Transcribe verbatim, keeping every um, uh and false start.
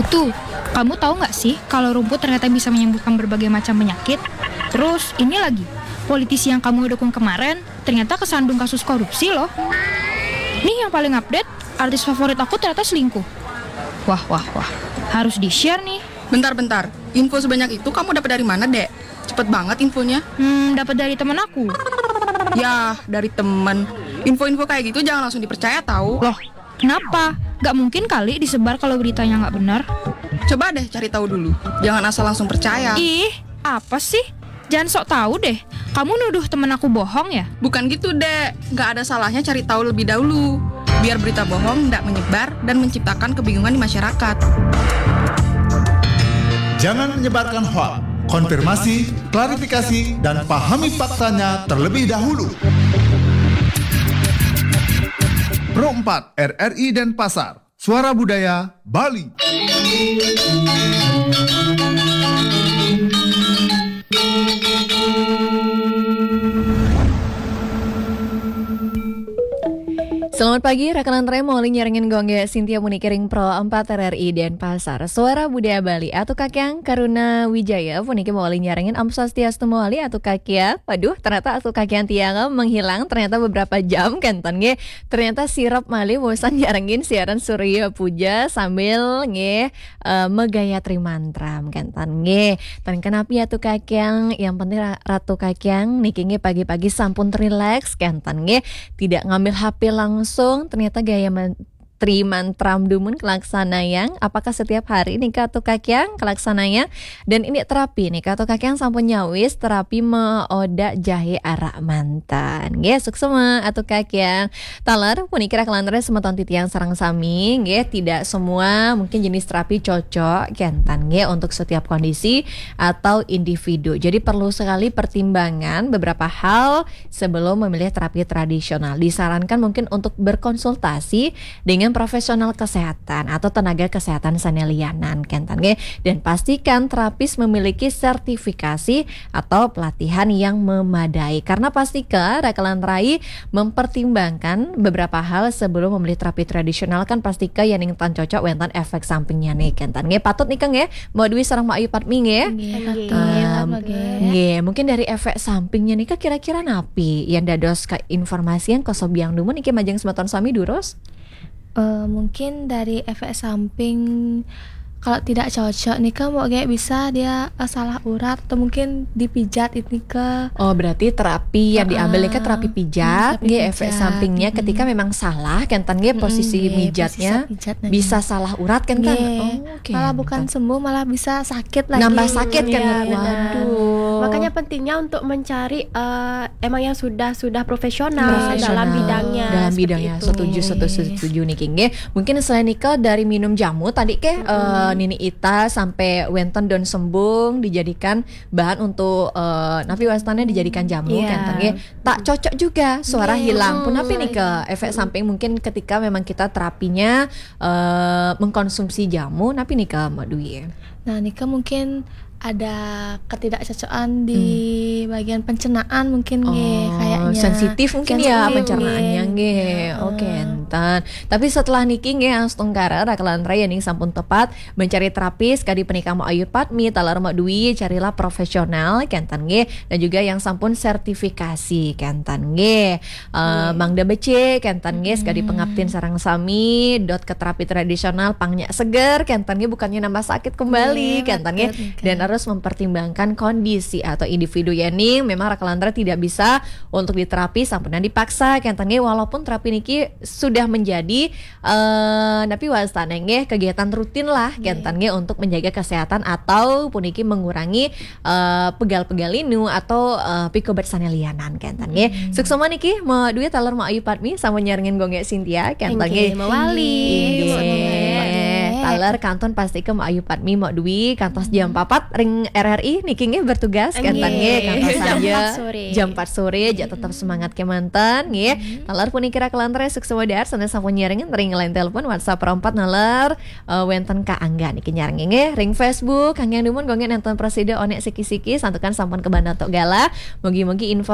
Tuh, kamu tahu nggak sih kalau rumput ternyata bisa menyembuhkan berbagai macam penyakit? Terus ini lagi, politisi yang kamu dukung kemarin ternyata kesandung kasus korupsi loh. Nih yang paling update, artis favorit aku ternyata selingkuh. Wah, wah, wah. Harus di-share nih. Bentar-bentar, info sebanyak itu kamu dapat dari mana, Dek? Cepet banget infonya. Hmm, dapat dari temen aku. Yah, dari temen. Info-info kayak gitu jangan langsung dipercaya, tahu. Loh, kenapa? Gak mungkin kali disebar kalau beritanya nggak benar. Coba deh cari tahu dulu. Jangan asal langsung percaya. Ih, apa sih? Jangan sok tahu deh. Kamu nuduh temen aku bohong ya? Bukan gitu, Dek. Nggak ada salahnya cari tahu lebih dahulu. Biar berita bohong nggak menyebar dan menciptakan kebingungan di masyarakat. Jangan menyebarkan hoax. Konfirmasi, klarifikasi, dan pahami faktanya terlebih dahulu. Pro empat R R I Denpasar, Suara Budaya Bali. Selamat pagi, rakan lantarai mawali nyarengin gongge Sintia puniki ring Pro empat R R I Denpasar. Suara Budaya Bali, Atu Kakyang Karuna Wijaya puniki mawali nyarengin. Om Swastiastu mawali Atu Kakyang. Waduh, ternyata Atu Kakyang tiang menghilang ternyata beberapa jam kenten nggih. Ternyata sirep malih bosan nyarengin siaran Surya Puja sambil nggih eh, megayatri mantram kenten nggih. Ten kenapi Atu Kakyang, yang penting Ra- Ratu Kakyang niki nggih pagi-pagi sampun rileks kenten nggih. Tidak ngambil H P langsung, ternyata gaya men- tri mantram dumun kelaksanayang. Apakah setiap hari nika Atu Kakyang kelaksanayang? Dan ini terapi nika Atu Kakyang sampun nyawis terapi meoda jahe arak mantan. Nggih, suksema Atu Kakyang. Taler puniki rakan lantarai semeton titiang sareng sami nggih, tidak semua mungkin jenis terapi cocok kenten nggih untuk setiap kondisi atau individu. Jadi perlu sekali pertimbangan beberapa hal sebelum memilih terapi tradisional. Disarankan mungkin untuk berkonsultasi dengan profesional kesehatan atau tenaga kesehatan sane liyanan kenten nggih, dan pastikan terapis memiliki sertifikasi atau pelatihan yang memadai. Karena pastika rakan lantarai mempertimbangkan beberapa hal sebelum memilih terapi tradisional, kan pastika yen ing tan cocok wenten efek sampingnya nih kenten nggih. Patut nika nggih, Mbok Dwi sareng Mbok Ayu Padmi nggih. Nggih, Em, nggih. Nggih, mungkin dari efek sampingnya nika kira-kira napi yang dados keinformasian kosobiang dumun niki majeng semeton sami durus? Eh, mungkin dari efek samping kalau tidak cocok nih kan mau kayak bisa dia eh, salah urat atau mungkin dipijat ini ke Oh, berarti terapi yang diambil nika terapi pijat, terapi nggih, efek pijat, sampingnya mm-mm. Ketika memang salah kenten nggih, posisi Nggih, mijatnya posisi pijat nanya. Bisa salah urat kenten. Nggih. Oh, oke. Malah bukan sembuh, malah bisa sakit lagi. Nambah sakit kan? Iya, benar. Waduh. Makanya pentingnya untuk mencari eh, emang yang sudah sudah profesional Profesional. dalam bidangnya. Dalam seperti bidangnya itu. Setuju, setuju, setuju nih King. Mungkin selain nika dari minum jamu tadi ke eh, Nini Ita sampai wenten daun sembung dijadikan bahan untuk eh, napi wastannya dijadikan jamu Iya. Kenten nggih. Tak cocok juga, suara Iya. Hilang. Pun napi Hmm. nika efek samping mungkin ketika memang kita terapinya eh, mengkonsumsi jamu, napi nika Mbok Dwi? Nah, nika mungkin ada ketidakcocokan di bagian pencernaan mungkin nggih, Oh, kayaknya sensitif mungkin ya Sensitif, pencernaannya nggih. Nggih. Oke, enten. Tapi setelah niki nggih, astungkara rakan lantarai yen ing sampun tepat mencari terapis kadi punika Mbok Ayu Padmi, taler Mbok Dwi, carilah profesional kenten nggih, dan juga yang sampun sertifikasi kenten nggih. Eh, mangda becik kenten nggih, kadi pengabdin sareng sami dot ke terapi tradisional pang nyak seger kenten nggih, bukannya nambah sakit kembali Nggih, kenten nggih. betul, nggih. Dan harus mempertimbangkan kondisi atau individu yen ing memang rakan lantarai tidak bisa untuk diterapi sampunan dipaksa kenten nggih, walaupun terapi niki sudah menjadi eh napi wastane nggih, kegiatan rutin lah kenten nggih untuk menjaga kesehatan atau puniki mengurangi eh pegal-pegal linu atau eh, pikobet sane liyanan kenten nggih. Suksema niki Mbok Dwi, taler Mbok Ayu Padmi sampun nyarengin gongge Sintia kenten nggih. Nggih, mawali. Inggih. Mawali. Taler kantun pasti ke Mbok Ayu Padmi, Mbok Dwi kantos jam papat ring R R I niki nggih bertugas kenten nggih, Nggih. kantos Jam saja empat sore. Jam empat sore, jak tetap semangat kemanten nggih. Taler puniki rakan lantarai suksema dahat sanes sampun nyarengin ring line telepon WhatsApp Pro empat naler eh, wenten Ka Angga niki nyarengin nggih. Ring Facebook Angga dumun gongge nenten prasida onek siki-siki santukan sampun kebana tok galah. Mugi-mugi info